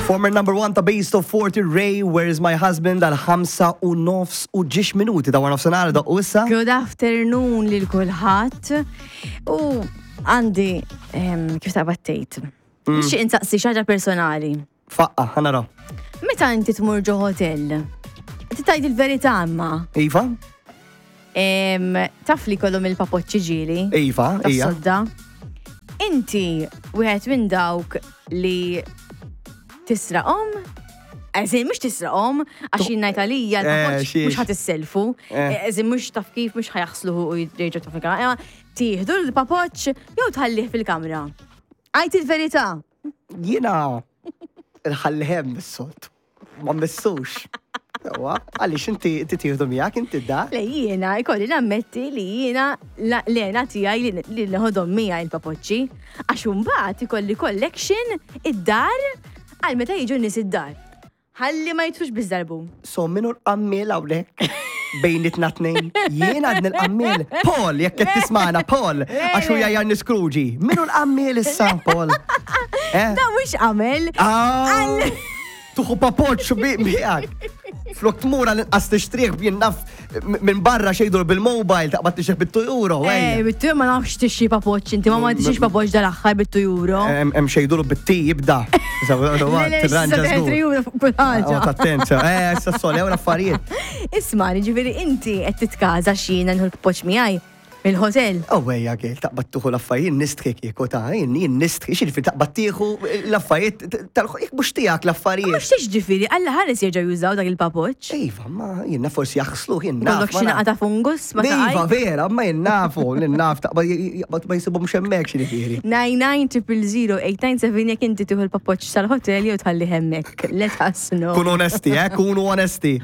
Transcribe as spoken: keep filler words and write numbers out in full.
Former number one ta' Base Top forty, Raye, "Where Is My Husband", għal ħamsa u nofs u ġiex minuti ta' wara nofsinhar da u issa. Good afternoon lil kulħadd. U għandi em, kif ta' battejt. Nixtieq insaqsi xi ħaġa personali. Faqqa, ħa naraw. Meta inti tmur ġo hotel, tgħid il-verità imma, Iva? em, taf li kollhom il-papoċċi ġieli Iva, ija. tas-sodda. Inti wieħed minn dawk li tisraqhom? Eżin, mhux tisraqhom, għax jien ngħid għalija Eh, l-papoċċ xiex. mhux ħa tisselfu. Eh. Eżin, mhux taf kif mhux ħa jaħsluhu u jerġgħu taf fil-kamra. Imma tieħdu l-papoċċ jew tħallih fil-kamra? Għid il-verità. Jiena nħallih bis-sod. Ma mmissux. Ewa, għaliex inti inti tieħdu miegħek inti da? Le, jiena, ikolli nammetti li jiena la- l-għena tiegħi li li neħodhom miegħi il-papoċċi, għax imbagħad ikolli collection id-dar għal meta jiġu n-nies id-dar. Ħalli ma jitfux biżdarbu. So min hu l-qammiel hawnhekk? Bejnietna tnejn. Jiena għadni l-qammiel. Paul, jekk qed tismana, Paul, għax hu jgħajjarni Scrooge. Min hu l-qammiel issa, Paul? Eh? Da mhux qamel. Ah, Tieħu papoċċ miegħek. Flok tmur għal inqas tixtrih jien naf minn barra xejdur bil-mobile taqbad tixtrih bit-two euro. Eh, bit-two ma nafx tixtri papoċċ inti, ma ma tixtrix papoċċ dal-aħħar bit-two euro. Hemm xejdur bit-ti jibda. Le, le, Tirranġa issa żgur. euro fuq kull ħaġa. Attent, eh, issa s-sol, l-affarijiet. Isma', ġifieri inti qed titkaża x'jiena nieħu l-papoċċ miegħi mill-hotel. Oh, ejja, għel, taqbad tieħu l-affarijiet, nistħi kieku ta' jien jien nistħi, x'jiġifieri taqbad tieħu l-affarijiet tal jek mhux tiegħek l-affarijiet. Mhux tix ġifieri, Alla ħares jerġgħu jużaw dak il-papoċċ. Iva, ma jiena forsi jaħslu, jien naf. Kollok xi naqa ta' fungus ma Iva, taqaj. vera, ma jien nafu, jien naf, taqbad jaqbad ma jisibhom hemmhekk x'jiġifieri. nine nine triple zero eight nine seven jekk inti tieħu l-papoċċ sal-hotel jew tħalli hemmhekk. Let us know. Kunu onesti, eh, kunu onesti.